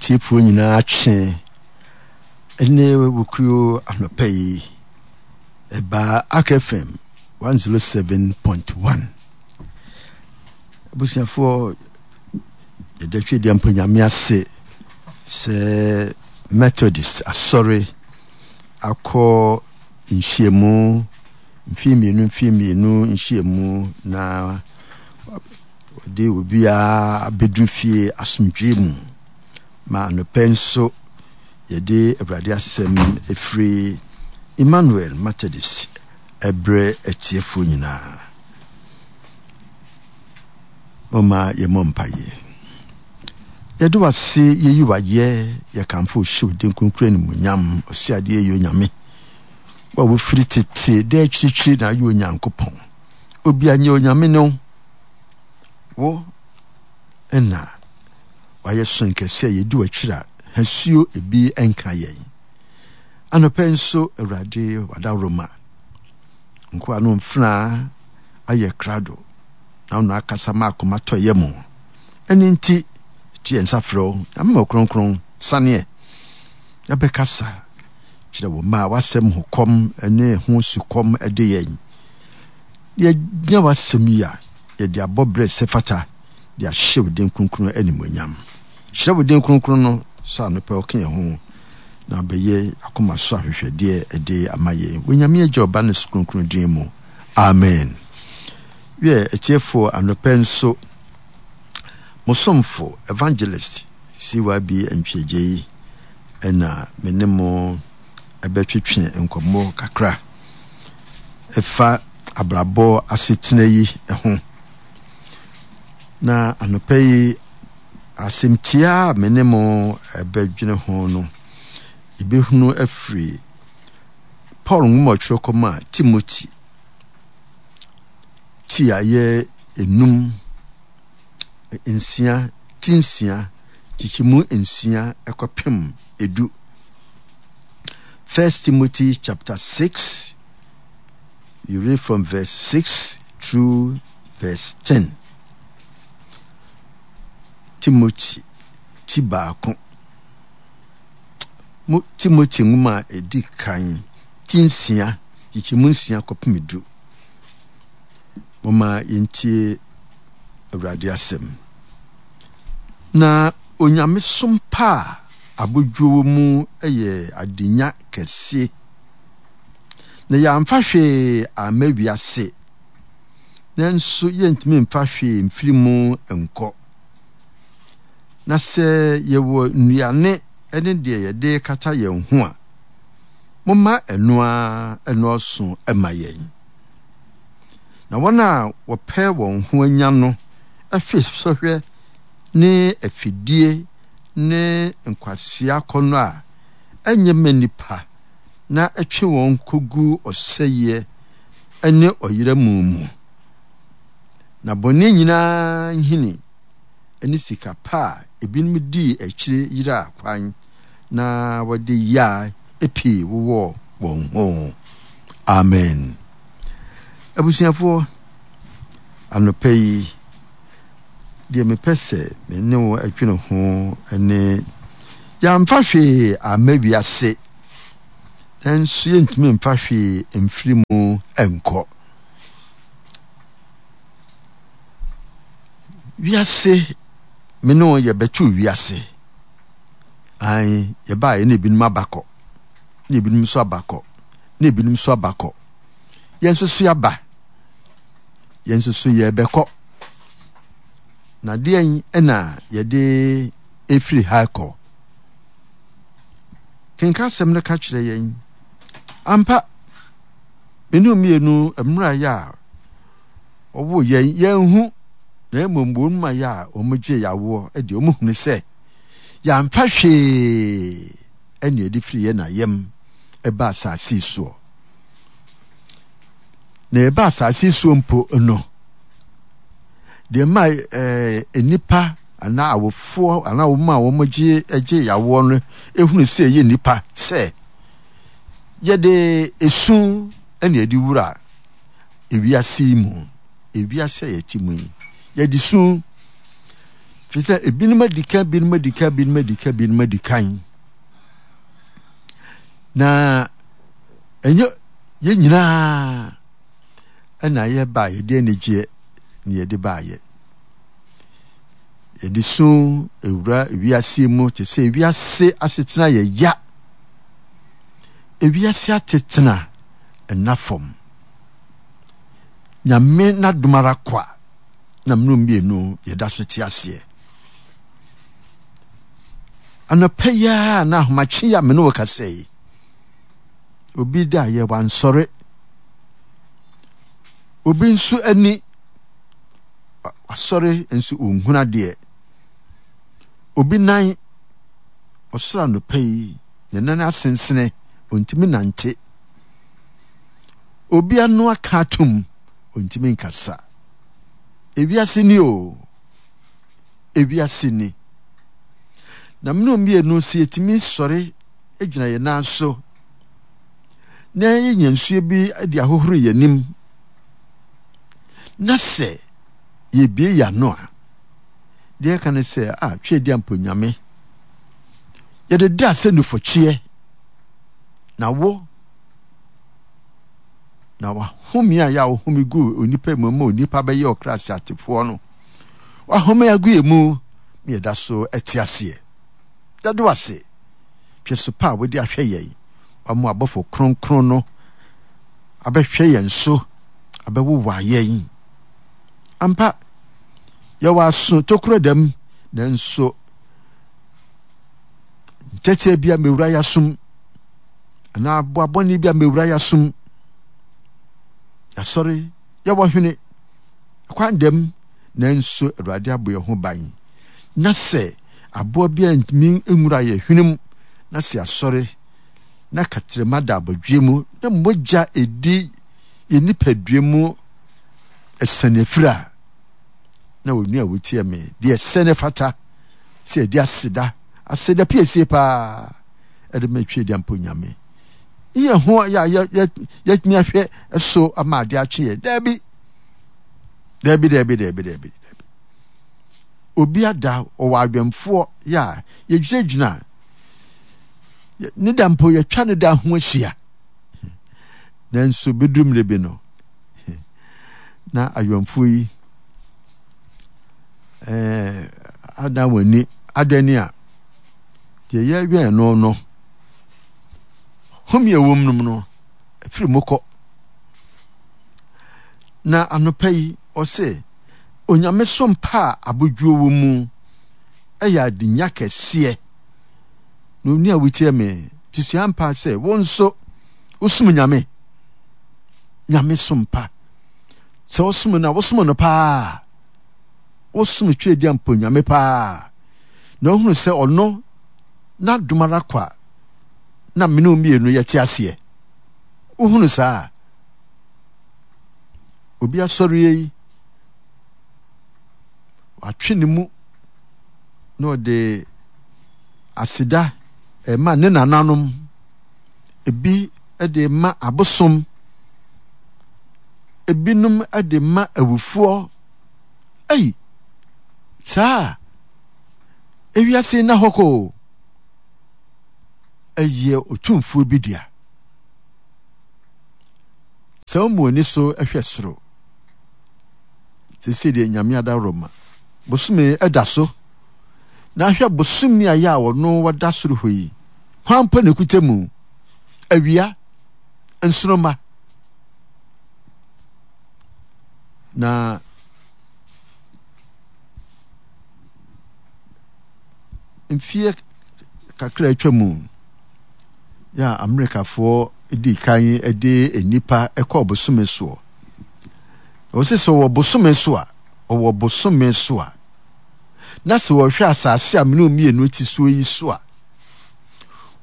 atiefoɔ nyinaa kye ne wukuo anɔpa yi ɛbaa Ark FM 107.1. Abusuafoɔ yɛda Twedeɛ mpo Nyame ase sɛ Methodist asɔre akɔ nhyiamu mfeɛ mmienu mfeɛ mmienu nhyiamu na wɔde obiara abɛduru fie asomdwoeɛ mu ma anɔpɛ nso yɛde Awurade asɛm ɛfiri Emmanuel Methodist ɛbrɛ atiefoɔ nyinaa. Momma yɛmmɔ mpaeɛ. Yɛde wo ase, yɛyi wo ayɛ, yɛkamfo wo hyɛ wo din kronkron animuonyam, Ɔseadeɛ yɛ Onyame. Wo a wofiri tete dɛ akyirikyiri na ayɛ Onyankopɔn. Obia nyɛ Onyame ne wo. Wo na wayɛ so nkɛse a yɛdi w'akyiri a hasuo ebi nka yɛn. Anɔpɛ nso Awurade wadaworoma. Nkoa no mfenaa ayɛ krado na wo na akasa ma akoma tɔ yɛ mu. Ɛno nti, to yɛn nsa frɛ wo, Nyame ma Kronkron, saneɛ na bɛkasa kyerɛ wo mma a w'asɛm ho kɔm ne ho sukɔm de yɛn. Yɛnya w'asɛm yi a, yɛde abɔ berɛ sɛ fata de ahyɛ wo din kronkron animuonyam. Hyira wo din kronkron no sɛ anɔpa ɔka yɛn ho na abɛyɛ akoma so ahwehwɛdeɛ de ama yɛn. Wɔ Nyame Agya, Ɔba ne Su Kronkron din mu. Amen. Wiɛ, atiefoɔ, anɔpa yi nso, mo somfo, Evangelist CYB Antwi-Agyei, ɛna me ne mo ɛbɛtwetwe nkɔmmɔ kakra ɛfa abrabɔ asetena yi ho. Na anɔpa yi, asɛmtia a me ne mo ɛbɛdwene ho no, yɛbɛhunu afiri Paul nwoma a ɔtwerɛ kɔmaa Timothy ti a ɛyɛ enum, nsia, ti nsia, kyekyɛmu nsia kɔpem edu. First Timothy chapter 6, you read from verse 6 through verse 10. Timothy ti baako. Mo Timothy nwoma a edi kan ti nsia, kyekyɛmu nsia kɔpem du. Momma yɛntie Awurade asɛm. Na onyamesom pa a abodwoɔ wɔ mu yɛ adenya kɛse. Na yɛamfa hwee amma wiase, nanso yɛntumi mfa hwee mfiri mu nkɔ. Na sɛ yɛwɔ nnuane ne deɛ yɛde kata yɛn ho a, momma ɛno ara nnɔɔso mma yɛn. Na wɔn a wɔpɛ wɔn ho anya no hwe sɔhwɛ ne afidie ne nkwasea akɔnnɔ a ɛnyɛ mma nnipa na ɛtwe wɔn kɔgu ɔsɛeɛ ne ɔyera mu mu. Na bɔne nyinaa nhini ne sika pa a ebinom dii akyire yeraa kwan na wɔde yea pii wowɔɔ wɔn ho. Amen. Abusuafoɔ, anɔpa yi, deɛ mepɛ sɛ me ne wo adwene ho ne yɛamfa hwee amma wiase, nanso yɛntumi mfa hwee mfiri mu nkɔ. Wiase, me ne wo yɛbɛtoo wiase. Ae, yɛbaeɛ na ebinom aba kɔ, na ebinom nso aba kɔ, na ebinom nso aba kɔ. Yɛn nso so yɛaba, yɛn nso so yɛrebɛkɔ. Na deɛn na yɛde efiri ha kɔ? Kenka asɛm no ka kyerɛ yɛn. Ampa, me ne mmienu mmerɛ yɛ a wɔwoo yɛn, yɛnhu, na mmom wɔn mu ayɛ a wɔgye yawoɔ deɛ wɔhunu sɛ yɛamfa hwee ɛne ɛde firi yɛn na yam ɛba asase soɔ. Na ɛba asase soɔ mpo no, deɛ ma ɛɛ nnipa anaa awofoɔ anaa wɔn a wɔgye gye yawoɔ no ehunu sɛ ɛyɛ nnipa sɛ yɛde esu ɛna ɛde wura ewiase yi mu, ewiase a yɛte mu yi, yɛde su. Ɛfiri sɛ ebinom adi kan, ebinom adi kan, ebinom adi kan, ebinom adi kan. Na ɛnyɛ yɛn nyinaa ɛna yɛba yɛde anigyeɛ na yɛde baayɛ. Yɛde su ewura wiase mu te sɛ wiase asetena yɛ ya. Ewiase atetena ɛna fam. Nyame n'adom ara kwa na mene mmienu yɛda so te aseɛ. Anɔpa yi ara na ahomakye yi a me ne wo kasa yi, obi da yɛ wansɔre. Obi nso ani wasɔre nso ɔnhunu adeɛ. Obi nan ɔsoro anɔpa yi, ne nan asensene, ɔntumi nante. Obi ano aka atom, ɔntumi nkasa. Ewiase ni o, ewiase ni. Na mene mmienu sɛ yɛtumi sɔre gyina yɛn nan so na yɛnya nsuo bi de ahohoro yɛn anim na sɛ yɛbie yɛn ano a, deɛ ɛka ne sɛ a twɛ di ampo nyame yɛde da sɛ nufɔkyeɛ na wo na wahome a yɛ a wohome gu onipa mu ma onipa bɛyɛ ɔkra ase atefoɔ no wahome agu yɛ mu ma yɛda so ɛte aseɛ yɛde ase hwɛ so pa a wode ahwɛ yɛn wama abɔfo kronkron no abɛhwɛ yɛn so abɛwowa yɛn ampa yɛwɔ aso tokuro dɛm nanso nkyɛkyɛ bi a mewura yɛasom anaa aboa bɔne bi a mewura yɛasom yɛasɔre yɛwɔ hwene kwan dɛm nanso awurade abɔ yɛn ho ban na sɛ aboa bi a ntumi nwura yɛ hwene mu na sɛ asɔre na katrɛma da abɔdwe mu na mogya edi yɛ nipadua mu ɛsɛn afiri a na onua a wotie me deɛ ɛsɛ ne fata sɛ yɛde aseda aseda piesie paa ɛde ma atwi adi ampo nyame yɛ ho yɛ a yɛtumi ahwɛ so ama ade akye yɛ daabi daabi daabi daabi daabi daabi obi ada ɔwɔ awɛmfoɔ yɛ a yɛgyinagyina ne da mpo yɛtwa ne da ho ahyia nanso bɛduru mmerɛ bi no na awɛmfoɔ yi ɛɛ adan wɔn ani adan ni a deɛ yɛwɛn no no home a ɛwɔ mu no no ɛfiri mu kɔ na anɔpa yi ɔse onyame som pa a abodwoɔ wɔ mu ɛyɛ adenya kɛseɛ na oni a wotie me te sua mpa sɛ wo nso wosom nyame nyame som pa sɛ wosom no a wosom no paa wosom Tweaduam mpo Nyame paa, na wohunu sɛ ɔno n'adom ara kwa na mene wo mmienu yɛte aseɛ. Wohunu saa? Obi asɔreɛ yi, watwe ne mu na ɔde aseda ɛma ne nananom, ebi de ma abosom, ebinom de ma awufoɔ. Ei, saa ewiase nna hɔ kɔ o. Ɛyɛ otumfoɔ bi dea. Sɛ womu ani so hwɛ soro, seesei deɛ Nyame adaworoma, bosome da so, na ahwɛ bosome a yɛ a ɔno wɔda soro hɔ yi, hwan mpo na ekuta mu? Awia, nsoromma. Na mfeɛ kakra atwa mu yɛ a Amerikafoɔ di kan de nnipa kɔɔ bosome soɔ. Wɔsi sɛ ɔwɔ bosome so a, ɔwɔ bosome so a, na sɛ wɔhwɛ asase a mene mmienu ti soɔ yi so a,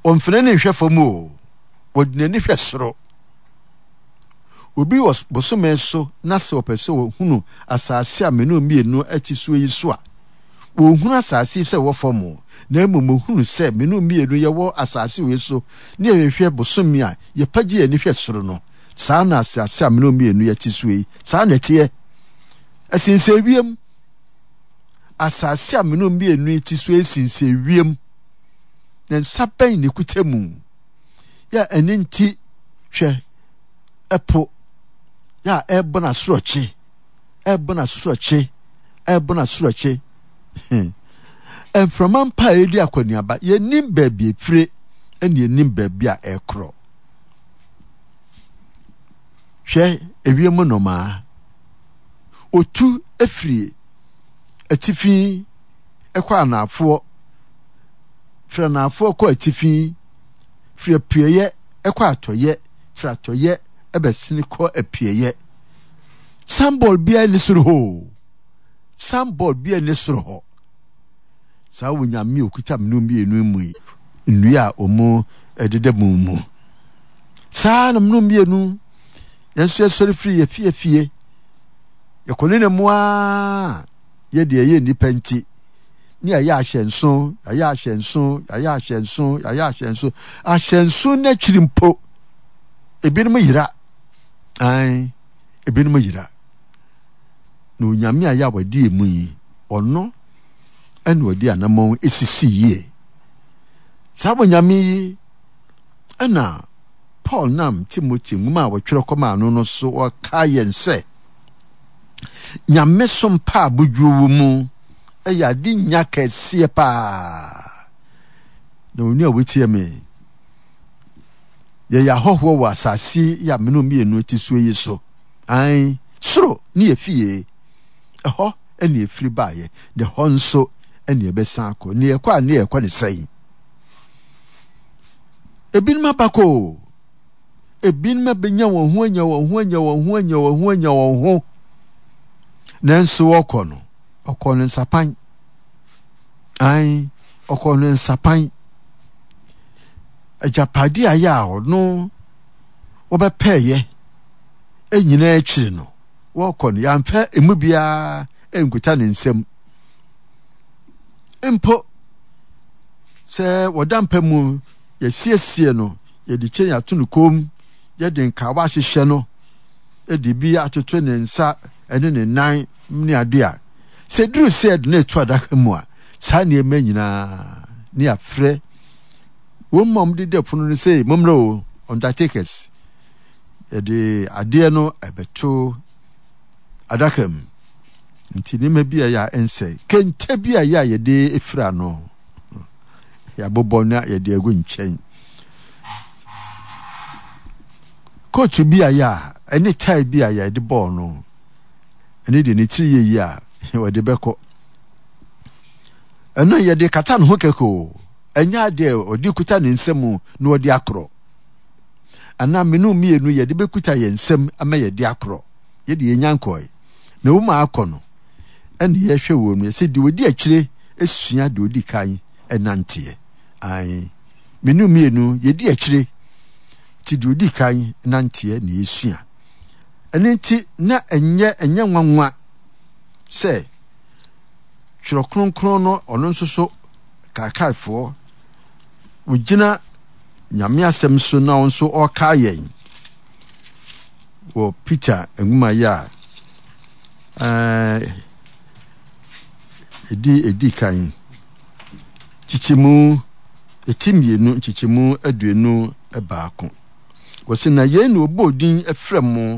wɔmfene ne nhwɛ fam o, wɔde n'ani hwɛ soro. Obi wɔ bosome so na sɛ ɔpɛ sɛ ɔhunu asase a me ne wo mmienu te soɔ yi so a, ɔnhunu asase yi sɛ ɛwɔ fam o, na mmom ɔhunu sɛ me ne wo mmienu yɛwɔ asase wei so na yɛhwehwɛ bosome a yɛpagye yɛn ani hwɛ soro no, saa na asase a me ne wo mmienu yɛte soɔ yi, saa na ɛteɛ. Ɛsensɛn wiem. Asase a mene mmienu yi te so esinsɛn wiem. Ne nsa bɛn na ekuta mu? Yɛ a ɛno nti hwɛ ɛpo yɛ a ɛrebɔ n'asorɔkye, ɛrebɔ n'asorɔkye, ɛrebɔ n'asorɔkye. Mframa mpa a ɛredi akɔneaba, yɛnnim baabi efire ɛne yɛnnim baabi a ɛrekorɔ. Hwɛ ewiem nnomaa, otu firi atifi kɔ anaafoɔ, firi anaafoɔ kɔ atifi, firi apueeɛ kɔ atɔeɛ, firi atɔeɛ bɛsene kɔ apueeɛ. Sanbɔɔl biara nni soro hɔ o. Sanbɔɔl biara nni soro hɔ. Saa Onyame a ɔkuta mene mmienu mu yi, nnua a wɔn deda mu mu. Saa na mene mmienu, yɛn nso yɛsɔre firi yɛ fie fie. Yɛkɔ ne na mu ara, yɛ deɛ ɛyɛ nnipa nti, ne yɛayɛ ahyɛnso, yɛayɛ ahyɛnso, yɛayɛ ahyɛnso, yɛayɛ ahyɛnso. Ahyɛnso n'akyiri mpo, ebinom yera. Ae, ebinom yera. Na Onyame a yɛ a wɔde emu yi, ɔno ɛna ɔde anamɔn esisi yie. Saa Onyame yi ɛna Paul nam Timothy nwoma a wɔtwerɛ kɔmaa no no so ɔka yɛn sɛ nyamesom pa a bodwuo wɔ mu yɛ ade nya kɛseɛ paa. Na onua a wotie me, yɛyɛ ahɔhoɔ wɔ asase yi a mene mmienu te soɔ yi so. Ae, soro ne yɛ fie. Ɛhɔ ne ɛfiri baeɛ, na ɛhɔ nso ne yɛbɛsan akɔ. Ne yɛkɔ a ne yɛkɔ ne sɛn? Ebinom abakɔ o. Ebinom abɛnya wɔn ho anya wɔn ho anya wɔn ho anya wɔn ho anya wɔn ho. Nanso wɔkɔ no, ɔkɔ no nsapan. Ae, ɔkɔ no nsapan. Agyapade a yɛ a ɔno wɔbɛpɛɛyɛ nyinaa akyiri no, wɔkɔ no, yɛamfa emu biara nkuta ne nsam. Mpo sɛ wɔda mpa mu, yɛsiesie no, yɛde kyɛn ato no kɔn mu, yɛde nkawa ahyehyɛ no, de bi atoto ne nsa ne ne nan ne ade a, sɛ duru sɛ yɛde no reto adaka mu a, saa nneɛma nyinaa ne yɛafrɛ wɔn mu a wɔde da funu no sɛ mommrɛ o, undertakers. Yɛde adeɛ no ɛbɛto adaka mu. Nti nneɛma bi a ɛyɛ a ɛnsɛe. Kente bi a ɛyɛ a yɛde fira no, yɛabobɔ na yɛde agu nkyɛn. Kootu bi a yɛ a ɛne tae bi a yɛde bɔɔ no, ɛne deɛ ne tiri yɛ yi a wɔde bɛkɔ. Ɛno yɛde kata ne ho kɛkɛ o, ɛnyɛ adeɛ ɔde kuta ne nsam na ɔde akorɔ. Anaa mene mmienu yɛde bɛkuta yɛn nsam ama yɛde akorɔ. Yɛde yɛnya nkɔe. Na wɔn a akɔ no, ɛne yɛhwɛ wɔn mu, yɛsɛ deɛ ɔdi akyire sua deɛ ɔdi kan nanteɛ. Ae, mene mmienu yɛdi akyire nti deɛ ɔdi kan nanteɛ na yɛsua. Ɛno nti na ɛnyɛ ɛnyɛ nwanwa sɛ Twerɛ Kronkron no ɔno nso so kaakaefoɔ wɔgyina Nyame asɛm so na ɔno nso ɔrekae yɛn wɔ Peter nwoma yi a ɛdi ɛdi kan kyekyɛmu ɛti mmienu nkyekyɛmu 21. Wɔsi na yei na ɔbɔɔ din frɛ mo.